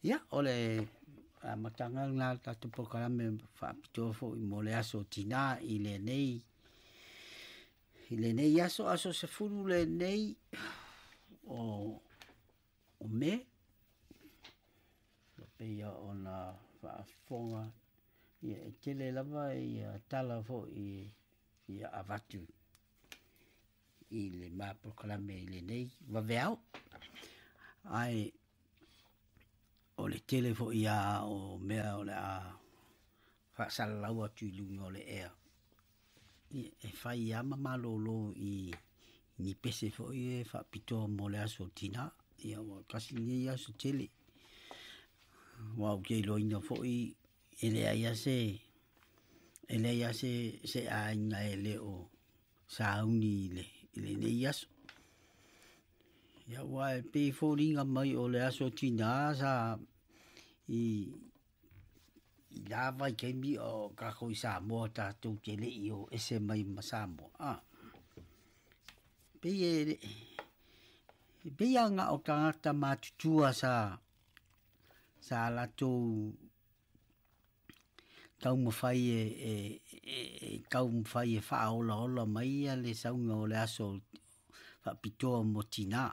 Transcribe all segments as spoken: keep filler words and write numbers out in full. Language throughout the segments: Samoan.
Ia, o le amataga lena o le tatou polokalame faapitoa foi mo le aso tinā i lenei i lenei aso, aso sefulu lenei o o Me. E pei ona faafofoga ia e tele lava ia tala foi ia avatu i le ma polokalame i lenei vaveao. Ae o le tele foi ia o mea o le a faasalalau atu i luga o le ea e fai lava ma malolo i ni pese foi e faapitoa mo le aso tinā. Ia ua tasi lenei aso tele ua ou te iloaina foi e leai lava se e leai lava se se aiga e le o sauni i le i lenei aso. Ia ua e pei e foliga mai o le aso tinā sa i i la vaitaimi o tatou i Samoa tatou te le i o ese mai ma Samoa a. Pei e e pei lava na o tagata matutua sa sa latou taumafai e e e taumafai e faaolaola mai le sauga o le aso faapitoa mo tinā.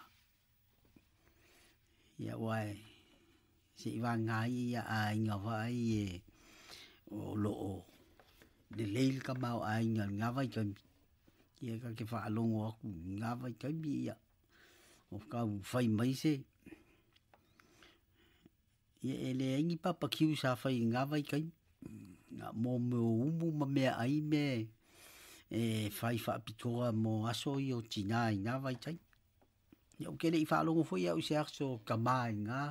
Ia aua e seivāga ai ia aiga vaai e o loo lelei le tamaoaiga i lena vaitaimi. Ia ta te faalogo atu i lena vaitaimi ia o taumafai mai se ia e leai ni papakiu sa fai i lena vaitaimi. Na mo mea o umu ma meaai mea e fai faapitoa mo aso ia o tinā i na vaitaimi. Ia ou te le i faalogo foi au i se aso tamā i ngā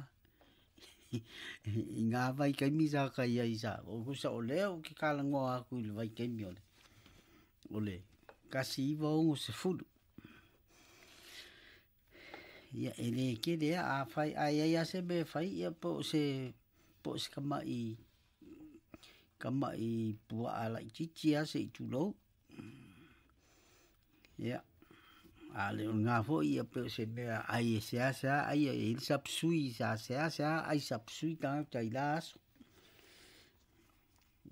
i ngā vaitaimi sa kai ai sa o kusa o lea ou te talanoa atu i le vaitaimi o le o le tasi iva ono sefulu. Ia e le tele a afai a i ai lava se mea e fai ia po o se po o se tama'i tama'i puaa laitiiti lava se i tulou. Ia a le o lena foi ia pei o se mea ai e seasea ai e i ai le sapsui sa seasea ai sapsui tagata i la aso.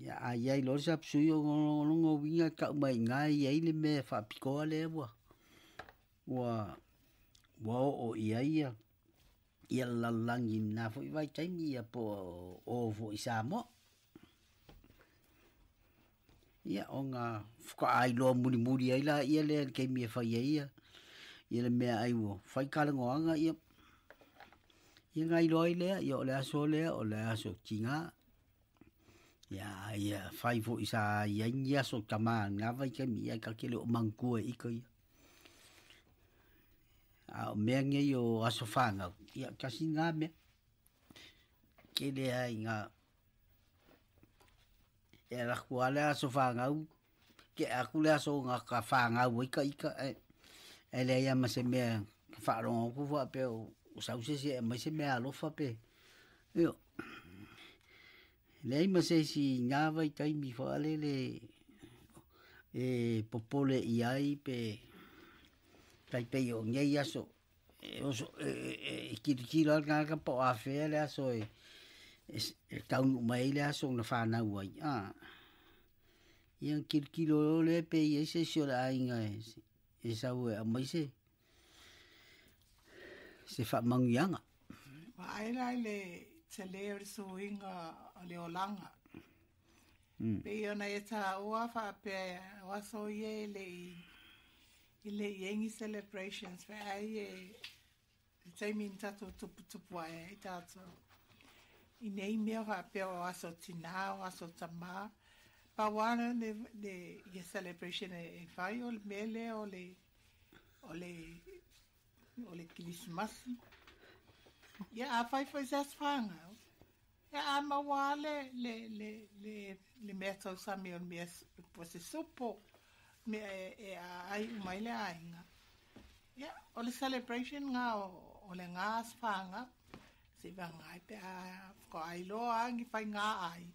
Ia a i ai loa le sapsui o lona uiga e tau mai i ina e i ai le mea faapitoa lea ua ua ua oo i ai ia ia le lalolagi i lena foi vaitaimi ia po o o foi i Samoa. Ia ona faatoa iloa mulimuli ai laia lea i le taimi e fai ai ia ia le meaai ua fai talanoaga ia ia ona iloa ai lea ia o le aso lea o le aso tinā. Ia ia fai foi sa i ai ni aso tamā i lena vaitaimi ae ta te le o manatua e ita ia. A o mea nei o aso fanau, ia tasi lena mea. Tele lava ina e alu atu lava le aso fanau, tea atu le aso na ka fanau ai ita ae ae leai lava ma se mea e faalogo atu faapea ua sau se isi e aumai se meaalofa pe ioe. Leai ma se isi i na vaitaimi faalele e popole i ai pe tai pei o nei aso e oso e e tilotilo lava le tagata po o afea le aso e e taunuu mai ai le aso na fanau ai a. Ia ona tilotilo loa lea pe i ai se isi o le aiga e sau e aumai se se faamanuiaga. Vaai la i le tele o le suiga o le olaga. Pei ona e taua faapea o aso ia e le i i le i ai ni celebrations feai e le taimi na tatou tuputupu ae ai tatou i nei mea faapea o aso tinā o aso tamā. Pau lava le le ia celebration e fai o le mea lea o le o le o le kerisimasi. Ia afai foi se aso fanau, ia a maua lava le le le le le mea tausami o le mea po o se supo, mea e e aai uma ai le aiga. Ia o le celebration lena o le ga aso fanau, seivagana ai pe a faatoa iloa lava ni faiga ai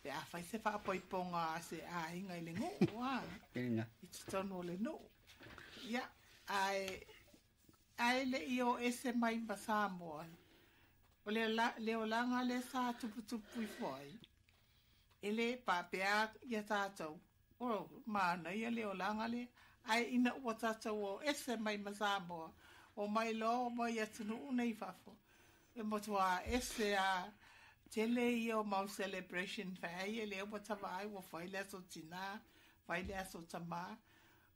pe a fai se faapoipoga a se aiga i le nuu a i totonu o le nuu. Ia ae ae le i o ese mai ma Samoa. O le le olaga le sa tuputupu ifo ai. E lē paapea ia tatou o manaia le olaga lea ae ina ua tatou o ese mai ma Samoa o mai loa mai atunuu nei fafo e matuā ese a tele ia o mau celebration feai e lea ua tavaai ua fai le aso tinā fai le aso tamā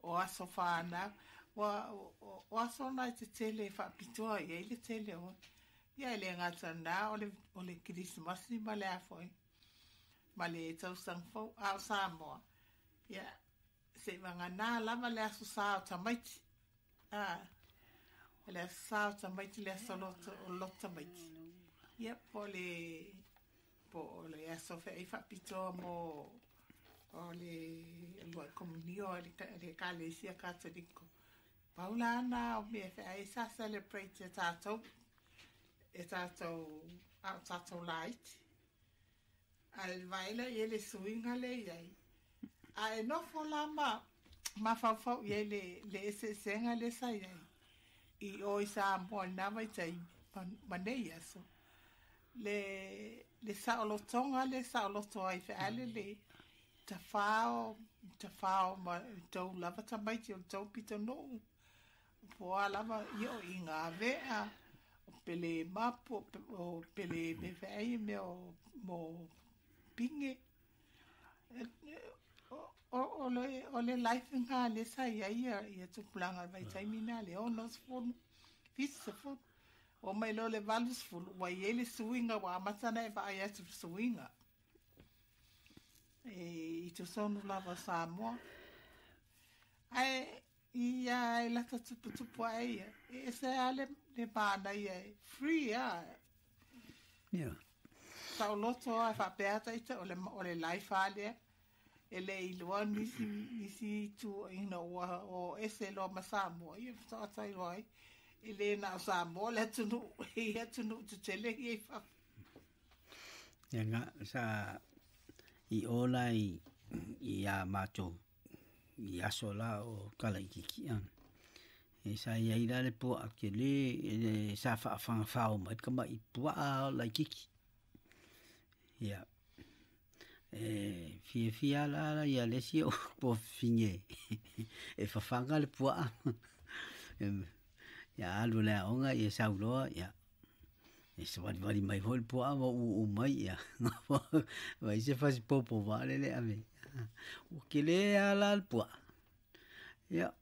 o aso fanau ua o aso na e tetele e faapitoa i ai le tele o ia e le gata lena o le o le kerisimasi ma le a foi ma le tausaga fou a o Samoa ia seivagana lava le aso sa o tamaiti a le aso sa o tamaiti le aso loto o loto tamaiti ia po o le po o le aso feai faapitoa mo o le lua'i komunio a le le ekalesia Katoliko pau la na o mea feai sa celebrate e tatou e tatou a o tatou laiti ae vaai laia i le suiga lea i ai ae nofo la ma mafaufau i ai le le eseesega lea sa i ai i o i Samoa i lena vaitaimi ma nei aso le le saolotoga le saoloto ai feale le tafao tafao ma tou lava tamaiti o tou pitonuu po o a lava ia o iga avea o pele mapu o pele mea feai mea o mo pige o o le o le life lena lea sa i ai ia ia tupulaga i le vaitaimi lena le onosefulu fitusefulu oo mai loa le valusefulu ua i ai le suiga ua amata ona e vaai atu i le suiga e i totonu lava o Samoa ae ia e lata tuputupu ae ia e ese lava le le manaia e free a Ia. Saoloto a faapea ita o le o le life lava lea e le iloa nisi nisi tuuaiga ua o ese loa ma Samoa ia faatoa iloa ai e lē na o Samoa le atunuu e i ai atunuu tetele ia i fafo. Ia nga sa i o la i i a matou i aso la o kalaitiiti a e sa iai la le puaa tele e sa faafagafao mai le tama'i puaa laitiiti. Ia e fiafia la ia le isi o fafine e fafaga le puaa ia alu i le aoga ia sauloa ia e savalivali mai foi le puaa ma u'u'u mai ia fai se fasipopo faalele ave ua kelē a la le puaa. Ia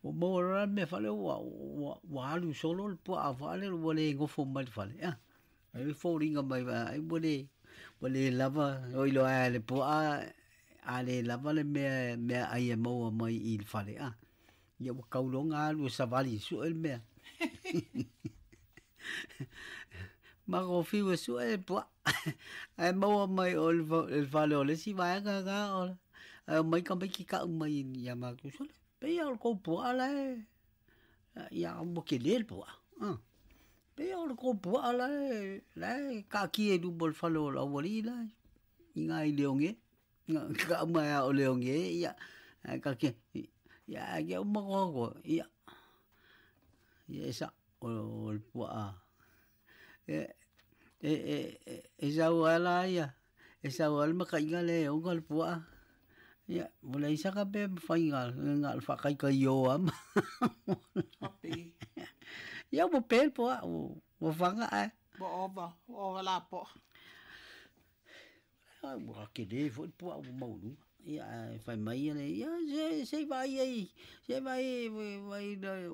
ua maua loa la le mea faale ua ua ua alu solo le puaa faalele ua le nofo mai le fale a ai foliga mai ai ua le ua le lava oi loa ae le puaa a le lava le mea meaai e maua mai i le fale a ia ua tauloga alu e savali e su'e le mea mago fiu e su'e le puaa ae maua mai o le fale o le isi vaega lena o ae omai tamaiti ta'u mai ia matou sole pei a o le tou puaa la e ia ua telē le puaa a pei a o le tou puaa la e la e taatia i luma o le fale o le aualii la i ina i Leone ta'u mai lava o Leone ia ae taatia ia ae uma ia ia e sa'o o le puaa e e e e sau lava la ia e sau lava le makaiga lea e ona le puaa ia ua leai saka mea e mafai na o le faataitaio lava ma ia ua pe le puaa ua faga ae ua ova ua ova lapoa. Ua telē foi le puaa ua maualuga ia ae fai mai ia le ia se se i vaai ai se i vaai ai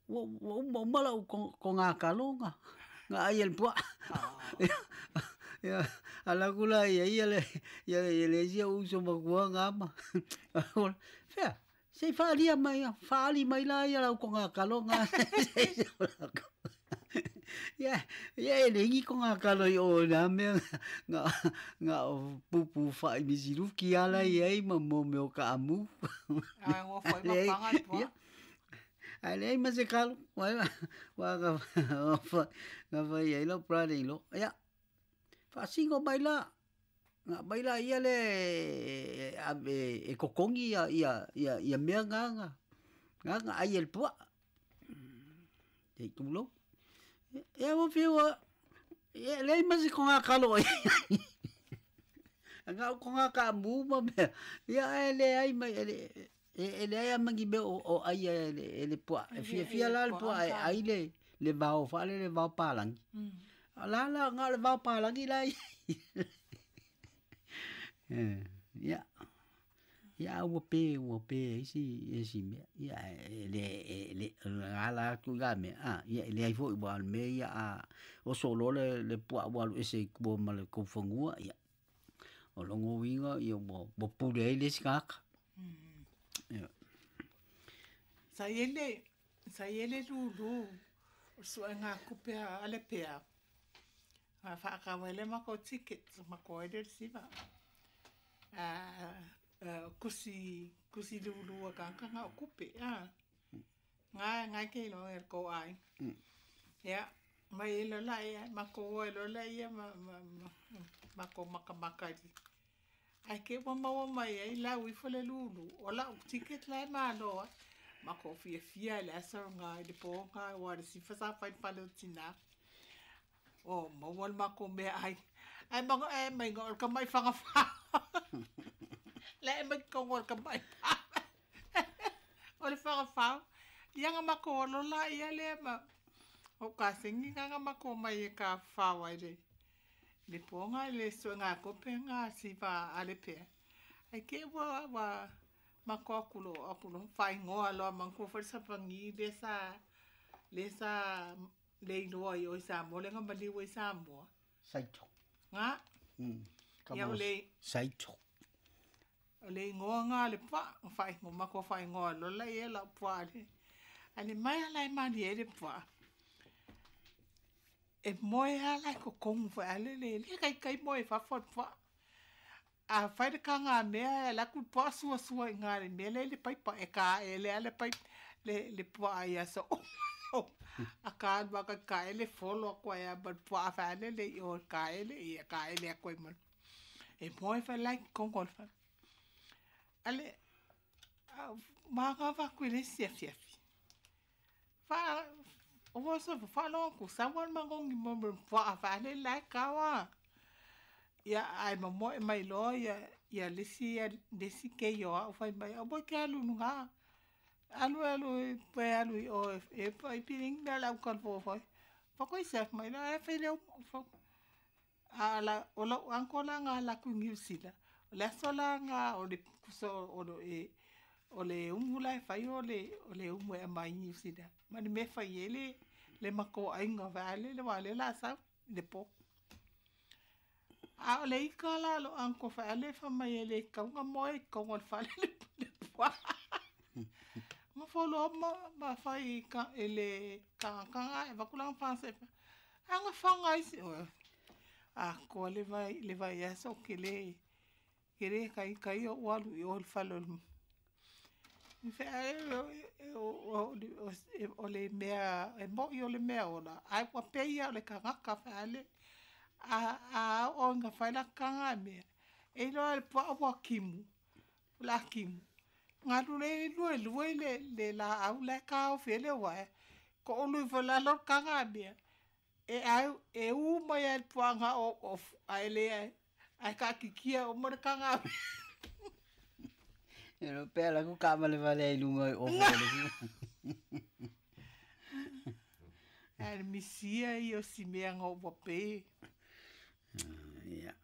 ua ua uma uma la'u togatalo na na ai e le puaa. Ia alu atu la i ai ia le ia le isi ou uso matua na ma fea se i faalia mai faali mai la ia lau togatalo na. Ia ia e leai ni togatalo i o i na mea na na o pupu fa'i misiluki a la i ai ma mo mea o kaamu. Ae gofo ai ma faga le puaa. Ae leai ma se kalo ua na fai ai lau brother in law ia faasino mai la na aumai laia lea e ave e totogi ia ia ia mea na na na aai e le puaa se i tulou. Ia ua fiu ia leai ma se kogakalo o iai. Aga o kogakamu ma mea. Ia ae leai mai e e leai a ma ni mea o aia e le puaa. E fiafia la le puaa e ai le le vao faale le vao palagi. La la nga le vao palagi la ia. Ia. Ia ua pe ua pe isi isi mea. Ia e le e le ala atu la mea. Ah ia e leai foi ua o le mea ia a oso loa le le puaa ua alu ese i tua ma le kaufanua ia. O logo uiga ia ua ua pule ai le isi tagata. Ia. Sa i ai sa i ai le lulu o suega kupe a le pea. A whaakawa le mako ticket mako ai le siva. A kusi kusi lulu a kanga o kupe a. Ngai ngai ke lo e ko ai. Ya mai lo la ia mako lo la ia ma ma mako maka maka. Ai ke wa maua mai ai la ui fo le lulu o la ticket la ma lo. Mako fia fia le asa nga le po nga wa le sifa sa fai pale tina. O maua le mako mea ai. Ai mako e mai ngo ka mai whanga wha. Le e mai kongo ka mai. O le whanga wha. Ia nga mako lo la ia le ma. O ka singi nga mako mai e ka whawa le. Le po nga le so nga kope nga sifa a le pea. Ai ke wa wa mako akulo akulo whaingoa loa manku wharisapangi le sa le sa le iloa i o i Samoa le nga maliu i Samoa. Saito. Nga. Mm. Ia o le Saito. O le ingoa nga le pua whaingoa mako whaingoa lola ia la pua le. Ale mai ala e mani e le pua. E moe ala e kokongu wha ale le le kai kai moe whawha pua. A whai le ka ngā mea e la ku pua sua sua i ngā le mea le le paipa e ka e le ale paip le le pua ia so. A ka alua ka ka ele folo a koe a ma pua a wha ale le i o ka ele i ka ele a koe ma. E moe wha lai kongo le wha. Ale maa ngā wha koe le sia fia fi. Wha o wā so wha loa ku sa wan mangongi mo mo pua a wha ale lai kawa. Ia ai ma moe mai loa ia ia lesi ia lesi ke io au whai mai au boy ke alu nunga. Alu alu pe alu i o e pa i piring na lau kalpo whai. Whakoi sef mai la e whai leo a la o lau anko la ngā la ku New Zealand. O le aso la ngā o le kuso o le e o le umu la e whai o le o le umu e mai New Zealand. Mani me whai e le le mako ainga wha ale le wā le la sau le po. A o le ika la lo anko wha ale wha mai e le kaunga moe kaunga le whale le le pua. Ma folo ma ma whai ka e le kangakanga e wakulanga whanse. Anga whanga isi o. A koa le vai le vai aso ke le ke le kai kai o walu i o le whalo. Fe o o o le mea e mo i o le mea ola. Ai ua peia o le kangaka wha ale. A a o nga whai la kanga mea. E loa le pua ua kimu. La kimu. Ngā lule lue lue le le la au le ka o fele wa. Ko olu fo la lo kanga mea. E au e u mai al pua nga o o ai le ai ka kikia o mo le kanga. E lo pea la ku ka male vale i lunga o fo le. Ai misia i o si mea ngo wa pe. Ia.